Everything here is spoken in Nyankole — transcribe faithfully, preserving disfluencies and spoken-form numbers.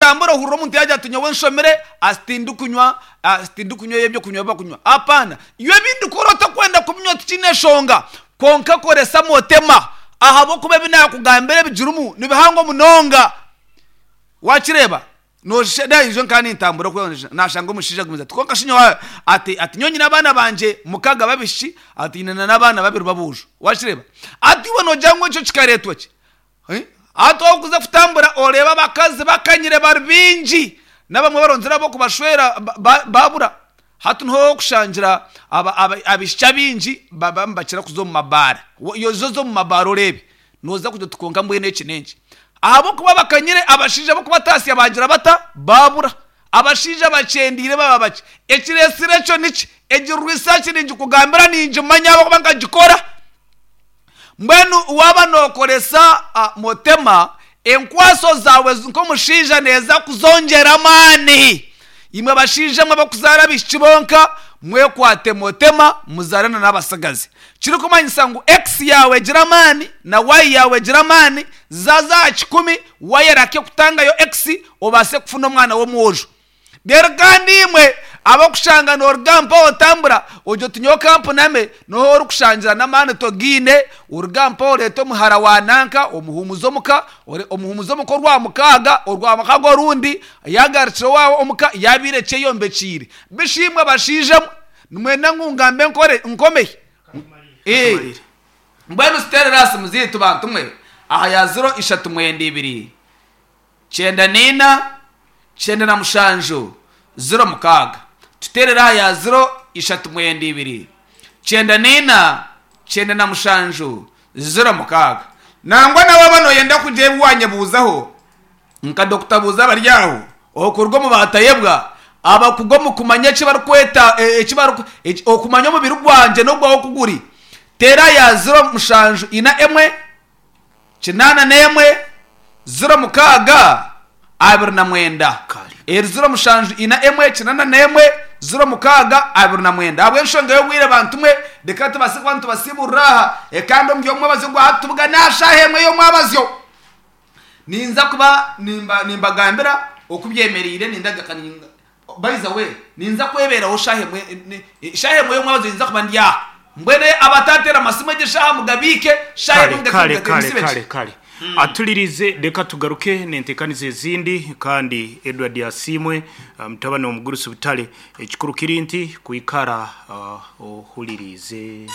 otambura ohurira omuntu yagira ati nyowe nshomire asitindikunywa asitindikunywa ebyokunywa bakunywa apana iyo ebindi kora otakwenda kubinywa tikiine eshonga konka koresa motema ahabw'okuba ebi naakugambira ebigirimu nibihango munonga wakireba nosheda nka nintambura okwe nashanga omushaija agumize ati konka shinyo ati ati nyowe nyine abaana bangye mukaga babishiki ati nyine n'abaana babiri babujo wakireba ati iwe nogira ngu ekyo kikareetwa ki Eh? Ati okuza kutambura oreeba abakazi bakanyire bari bingi n'abamwe baronzire ab'okubashwera ba- ba- babura hati niho okushangira aba- aba- abaishiki abingi baba nibakira kuza omu mabaara Wo- yozo zo omu mabaara oreebe noza kugira oti konka mbwenu eki n'enki ahabw'okuba bakanyire abashaija b'okubatasya bagira bata babura abashaija bakyendiire baba baki ekireesire ekyo niki egi research ningikugambira ningimanya ahabw'okuba nkagikora mbwenu waaba nookoresa ah, motema enkwaso zaawe nk'omushaija neeza kuzongyera amaani imwe bashaija mwe abakuzaara abaishiki bonka mwekwate motema muzaarane n'abasigazi kirikumanyisa ngu x yaawe egira amaani na y yaawe egira amaani zaza aha kikumi y erake kutangayo x obaase kufuna omwana w'omwojo rero kandi imwe abakushanga noruga mpaho otambura ogyo oti nyowe kampuname noho orikushangira n'amaani togiine oruga mpaho oreeta omuhara wa nanka omuhumuza omuka ore- omuhumuza omuka orwa mukaaga orwa mukaaga orundi yagarukire owaawe omuka yabiire ekyeyombekiire bishimwe bashaija mwe nimwenda ngu ngambe nkore nkomeye Eh. Mbwenu siterera simu ziitu bantu mwe aha ya ziro ishatu mwenda ibiri kyenda n'ina kyenda na mushanju ziro mukaaga tuterera aha ya ziro ishatu mwenda ibiri kyenda n'ina kyenda na mushanju ziro mukaaga nangwa nawe bano yenda kugira ebi wanyebuuzaho nka dokita buuza abari aho okuruga omu batayebwa abakuga omu kumanya eki barikweta e- eki bariku- eki- okumanya omubiri gwangye n'ogwawe kuguri tera ya ziro mushanju ina emwe kinaana n'emwe ziro mukaaga abiri na mwenda Kale. eri ziro mushanju ina emwe kinaana n'emwe ziro mukaaga abiri na mwenda ahabw'enshonga y'obwire bantu mwe reka tubase kuba nitubasiburira aha ekandi omu by'omwabazyo gwahatubuga n'ashaaha emwe y'omwabazyo ninza kuba nimba nimbagambira okubyemereire nindagaka ninga by the way ninza kweberaho shaha emwe ni- shaha emwe y'omwabazyo ninza kuba ndi aha mbwene abatatera amasimu egyo shaha mugabiike shaha kale emwe kale mugake- kale mugake- kale kale atulirize reka tugaruke nentekaniza ezindi kandi Edward Yasimwe uh, mutabani wa mugurusi butale ekikuru kiri nti kwikara uh, ohulirize.